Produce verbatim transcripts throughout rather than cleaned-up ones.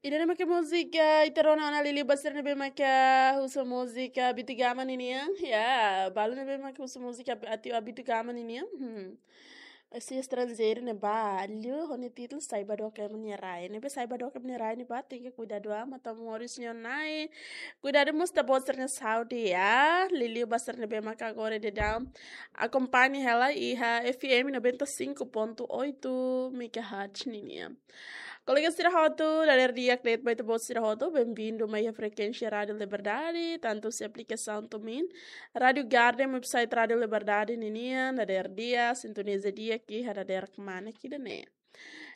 Ida-ne'e mak múzika, ita rona ona liuliu ba sira ne'ebé maka husu múzika Abitigaman ninian. Ya, balu ne'ebé maka husu múzika Abi-, ati Abitigaman ninian. Hmm. Ese estranjeiru ne'e balu, ho nia títulu Sai Ba Dook Ema Nia Rai. Ne'ebé Sai Ba Dook Ema Nia Rai ne'ebá, tenke kuidadu, ah, matan moris nia nai. Kuidadu mós ita-boot sira-nia saúde, ya. Liuliu ba sira ne'ebé maka agora daudaun akompaña hela iha F M noventa e cinco ponto oito megahertz ninian. Kolega sira hotu, dadeer di'ak de'it ba ita-boot sira hotu, bem-vindo mai iha frekuénsia Rádio Liberdade, tantu husi aplikasaun TuneIn, Rádio Garden, website Rádio Liberdade ninian, dadeer di'ak, sintoniza di'ak iha dadeer kmanek ida-ne'e.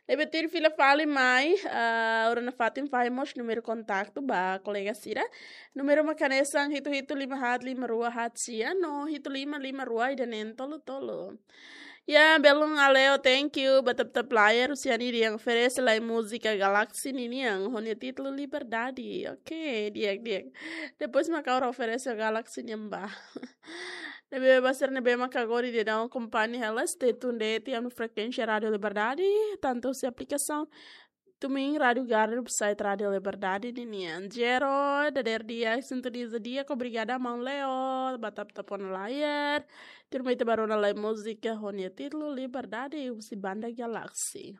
Ne'ebé tuir fila fali mai, ah, ora nafatin fahe mós númeru kontaktu ba kolega sira. Númeru mak hanesan hitu hitu lima haat lima rua haat sia no hitu lima lima rua ida neen tolu tolu. Ya, belun Aleo, thank you. Ba tap-tap layar, husi Ani Riang oferese lai múzika Galaxy ninian, ho nia títulu Liberdade. Oke, di'ak, di'ak. Depois mak ha'u oferese Galaxy nian ba. Ne'ebé ba sira ne'ebé maka agora daudaun akompaña hela, stay tuned de'it iha frekuénsia Rádio Liberdade, tantu husi aplikasaun TuneIn, Rádio Garden, website Rádio Liberdade ninian. Jero, dadeer di'ak, sintoniza di'ak, obrigada maun Leo, ba tap-tap ona layar. Tuirmai ita bá rona lai múzika ho nia títulu Liberdade, husi banda Galaxy.